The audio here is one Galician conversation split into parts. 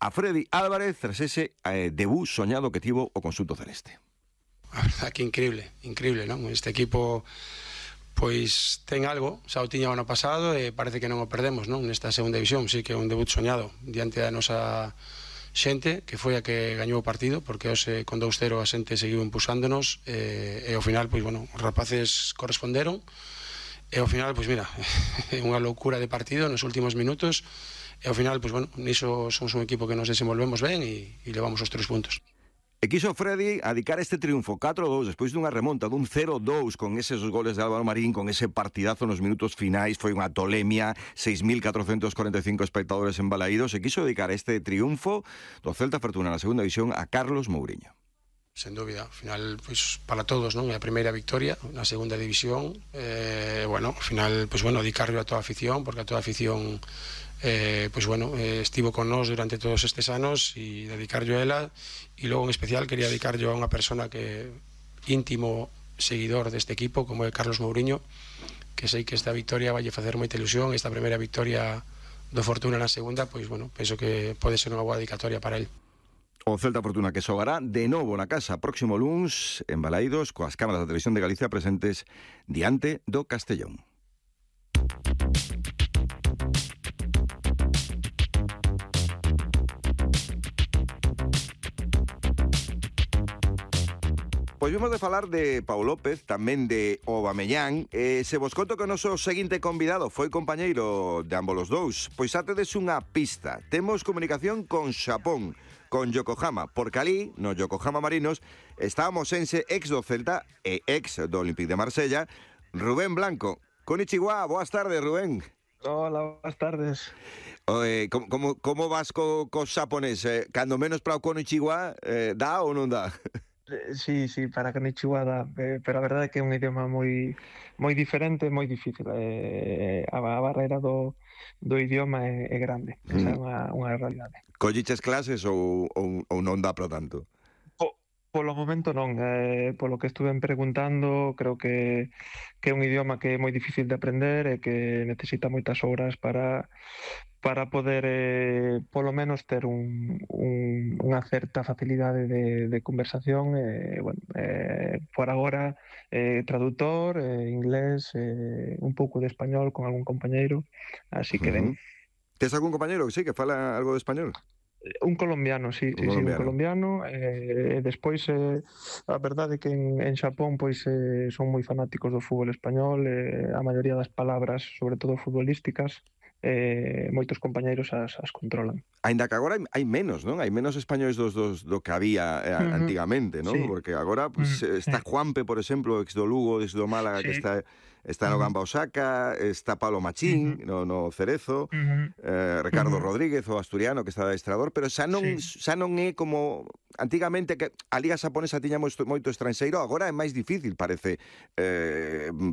a Freddy Álvarez tras ese debut soñado que tivo o conxunto celeste. A verdad que increíble, non? Este equipo pois ten algo, xa o tiña o ano pasado e parece que non o perdemos, non? Nesta segunda división, sí que é un debut soñado diante da nosa xente, que foi a que gañou o partido, porque hoxe con 2-0 a xente seguiu impulsándonos e ao final, pois, bueno, os rapaces corresponderon e ao final, pois mira, é unha loucura de partido nos últimos minutos e ao final, pois, bueno, niso somos un equipo que nos desenvolvemos ben e levamos os 3 puntos. E quiso Freddy adicar este triunfo 4-2 despois dunha remonta dun 0-2 con eses goles de Álvaro Marín, con ese partidazo nos minutos finais, foi unha tolemia, 6.445 espectadores embalaídos, e quiso dedicar este triunfo do Celta Fortuna na segunda división a Carlos Mouriño. Sen dúbida, ao final, pois, para todos, non? É a primeira victoria na segunda división, bueno, ao final, pois, bueno, dedicarlo a toda a afición, porque a toda a afición pois, bueno, estivo con nós durante todos estes anos e dedicarlo a ela, e logo en especial quería dedicarlo a unha persona que íntimo seguidor deste equipo, como é Carlos Mouriño, que sei que esta victoria vai facer moita ilusión, esta primeira victoria do Fortuna na segunda, pois, bueno, penso que pode ser unha boa dedicatoria para el. O Celta Fortuna que xogará de novo na casa próximo luns en Balaídos, coas cámaras da Televisión de Galicia presentes diante do Castellón. Pois vimos de falar de Pau López, tamén de Aubameyang. Se vos conto que o noso seguinte convidado foi compañeiro de ambos os dous, pois atedes unha pista. Temos comunicación con Xapón, con Yokohama, porque ali, no Yokohama Marinos, está o mosense ex do Celta e ex do Olympique de Marsella, Rubén Blanco. Konnichiwa, boas tardes, Rubén. Hola, boas tardes. Como vas co xaponés? Cando menos para o Konnichiwa, dá ou non dá? Sí, para Konnichiwa dá, pero a verdade é que é un idioma moi diferente, moi difícil. A barreira do idioma é grande, esa é unha realidade. Colliches clases ou non dá para tanto? Polo momento non, polo que estuve preguntando, creo que é un idioma que é moi difícil de aprender e que necesita moitas horas para poder, polo menos, ter unha certa facilidade de conversación. Bueno, por agora, traductor, inglés, un pouco de español con algún compañeiro, así que ben. Tes algún compañeiro que sí, que fala algo de español? Un colombiano, sí, un colombiano. Despois, a verdade é que en Xapón pois son moi fanáticos do fútbol español, a maioría das palabras, sobre todo futbolísticas, moitos compañeiros as controlan. Aínda que agora hai menos, non? Hai menos españois do que había antigamente, non? Sí. Porque agora pues, está Juanpe, por exemplo, ex do Lugo, ex do Málaga, sí, que está no Gamba Osaka, está Pablo Machín no Cerezo, Ricardo Rodríguez, o asturiano, que está de adestrador, pero xa non é como antigamente, que a Liga Xaponesa tiña moito estranxeiro, agora é máis difícil, parece,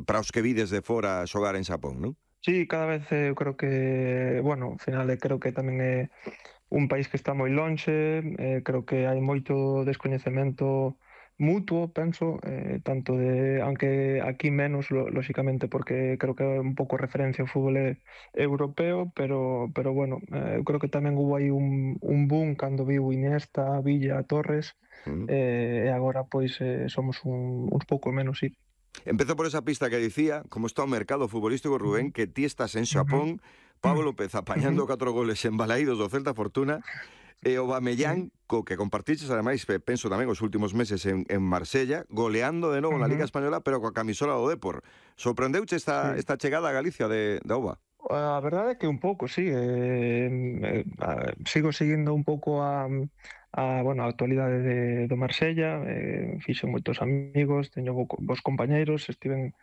para os que vides de fora xogar en Xapón, non? Sí, cada vez eu creo que, bueno, ao final creo que tamén é un país que está moi lonxe, creo que hai moito descoñecemento mutuo, penso, tanto de, aunque aquí menos, lóxicamente, porque creo que é un pouco referencia ao fútbol europeo, pero bueno, eu creo que tamén hubo aí un boom cando viu Iniesta, Villa, Torres, e agora pois somos uns pouco menos, sí. Empezo por esa pista que dicía, como está o mercado futbolístico, Rubén, que ti estás en Xapón, Pablo López apañando 4 goles en Balaídos do Celta Fortuna, e o Aubameyang, co que compartiches, ademais, penso tamén os últimos meses en Marsella, goleando de novo na Liga Española, pero coa camisola do Depor. Sorprendeuche esta chegada a Galicia de Auba? A verdade é que un pouco, sí. Sigo seguindo un pouco a actualidade do Marsella, fixen moitos amigos, teño bons compañeiros, estiven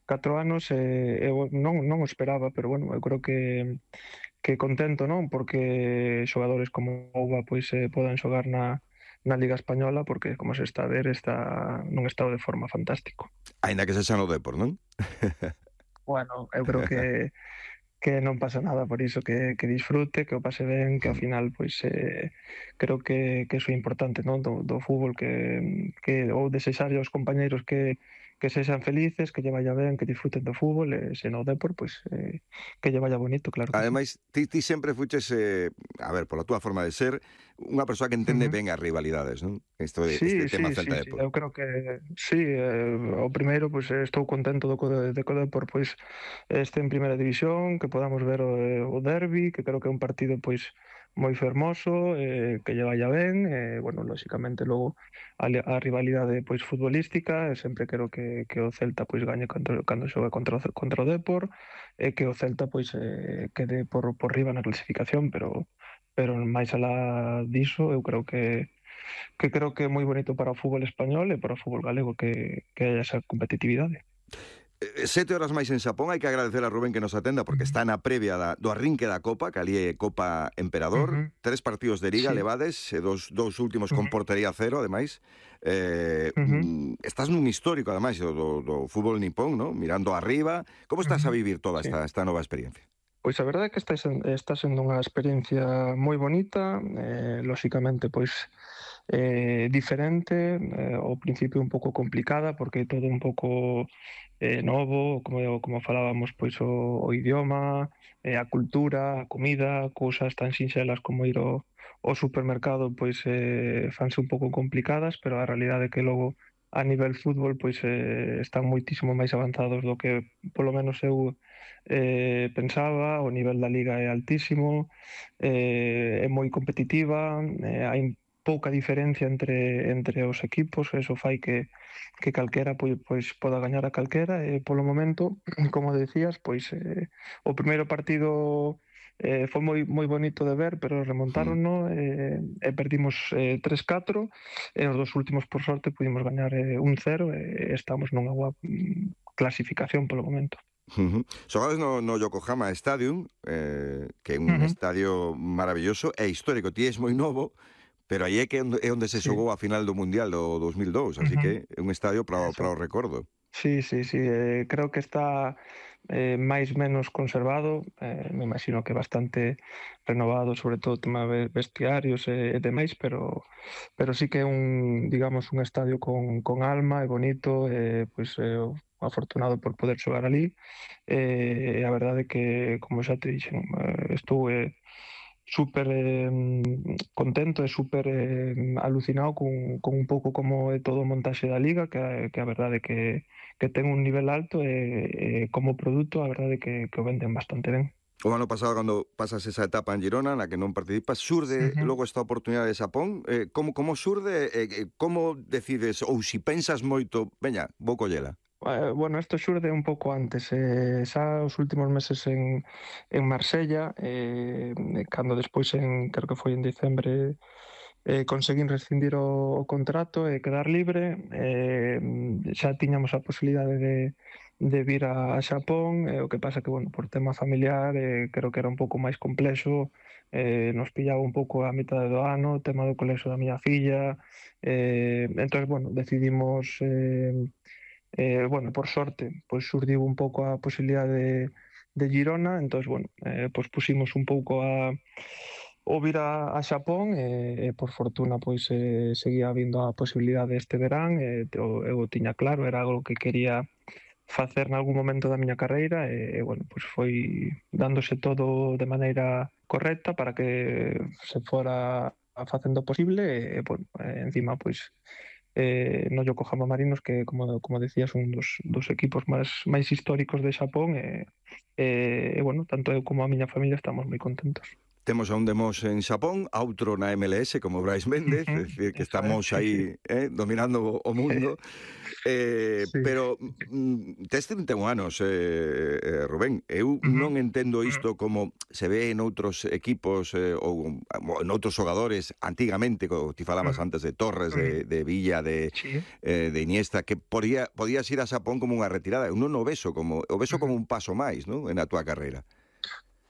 4 anos, eu non o esperaba, pero bueno, eu creo que contento, non? Porque xogadores como Ouba pois podan xogar na Liga Española, porque, como se está a ver, está nun estado de forma fantástico. Aínda que se xa no Depor, non? Bueno, eu creo que non pasa nada por iso, que disfrute, que o pase ben, que ao final pois creo que iso é importante, non? Do fútbol, que ou desexarlle aos compañeiros que que sexan felices, que lle vaya ben, que disfruten do fútbol, e se no Depor, pois que lle vaya bonito, claro que sí. Ademais, ti sempre fuches, a ver, pola túa forma de ser, unha persoa que entende ben as rivalidades, non? Este Sí, tema sí, sí, sí, Celta-Depor. eu creo que sí, o primeiro, pois estou contento de que o Depor pois este en primeira división, que podamos ver o derbi, que creo que é un partido pois moi fermoso, que lle vaya ben, bueno, lóxicamente logo a rivalidade pois futbolística, sempre quero que o Celta pois gañe cando xoga contra o Depor, e que o Celta pois quede por riba na clasificación, pero máis alá diso, eu creo que é moi bonito para o fútbol español e para o fútbol galego que haya esa competitividade. 7 horas máis en Xapón, hai que agradecer a Rubén que nos atenda porque está na previa do arrinque da Copa, que ali é Copa Emperador, 3 partidos de Liga Sí. levades, dous últimos con portería cero, ademais. Ujú. Estás nun histórico, ademais, do fútbol nipón, ¿no? Mirando arriba. Como estás a vivir toda Sí. esta nova experiencia? Pois a verdade é que está sendo unha experiencia moi bonita, lóxicamente pois diferente, ao principio un pouco complicada porque é todo un pouco novo, como falábamos, pois o idioma, a cultura, a comida, cousas tan sinxelas como ir ao supermercado, pois fanse un pouco complicadas, pero a realidade é que logo a nivel fútbol pois están moitísimo máis avanzados do que polo menos eu pensaba. O nivel da liga é altísimo, é moi competitiva, hai pouca diferencia entre os equipos, eso fai que calquera pois poda gañar a calquera, e polo momento, como decías, pois o primeiro partido foi moi bonito de ver, pero remontárono e perdimos 3-4, e os dos últimos por sorte pudimos gañar 1-0 e estamos nunha boa clasificación polo momento. Xogades no Yokohama Stadium, que é un estadio maravilloso e histórico. Ti és moi novo, pero aí é onde se xogou a final do Mundial do 2002, así que é un estadio para o recordo. Sí, creo que está máis menos conservado, me imagino que bastante renovado, sobre todo o tema de vestiarios e demais, pero sí que é digamos, un estadio con alma e bonito, pois afortunado por poder xogar ali, e a verdade é que, como xa te dixen, estou súper contento e súper alucinado con un pouco como é todo o montaxe da Liga, que a verdade é que ten un nivel alto e como produto a verdade é que o venden bastante ben. O ano pasado, cando pasas esa etapa en Girona, na que non participas, xurde logo esta oportunidade de Xapón. Como xurde? Como decides? Ou si pensas moito, veña, vou collela. Bueno, isto xurde un pouco antes, xa os últimos meses en Marsella, cando despois creo que foi en dicembre, conseguín rescindir o contrato e quedar libre, xa tiñamos a posibilidade de vir a Xapón, o que pasa que, bueno, por tema familiar, creo que era un pouco máis complexo, nos pillaba un pouco a mitad do ano, o tema do colexo da miña filla, entón, bueno, decidimos bueno, por sorte, pois xurdiu un pouco a posibilidade de Girona, entón, bueno, pois pusimos un pouco o vir a Xapón e por fortuna pois seguía habindo a posibilidade este verán, eu tiña claro, era algo que quería facer nalgún momento da miña carreira bueno, pois foi dándose todo de maneira correcta para que se fora facendo posible bueno, encima pois no Yokohama Marinos, que como decías, un dos equipos máis históricos de Xapón bueno, tanto eu como a miña familia estamos moi contentos. Temos a un de Mos en Xapón, a outro na MLS, como Brais Méndez, é dicir, que estamos aí dominando o mundo. Pero tes 31 anos, Rubén. Eu non entendo isto como se ve en outros equipos ou en outros xogadores antigamente, como ti falabas antes de Torres, de Villa, de Iniesta, que podías ir a Xapón como unha retirada. Eu non o vexo como un paso máis, non, na túa carreira.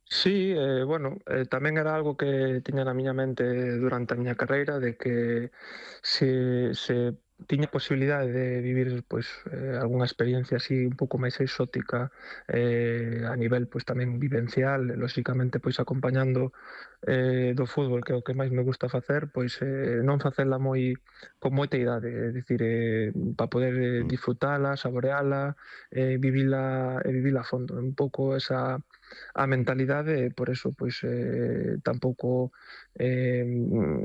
Sí, bueno, tamén era algo que tiña na miña mente durante a miña carreira, de que se tiña posibilidade de vivir pois algunha experiencia así un pouco máis exótica a nivel pois tamén vivencial, lóxicamente pois acompañando do fútbol, que é o que máis me gusta facer, pois non facela con moita idade, é dicir, para poder disfrutala, saboreala, vivila a fondo, un pouco esa a mentalidade, e por eso pois tampouco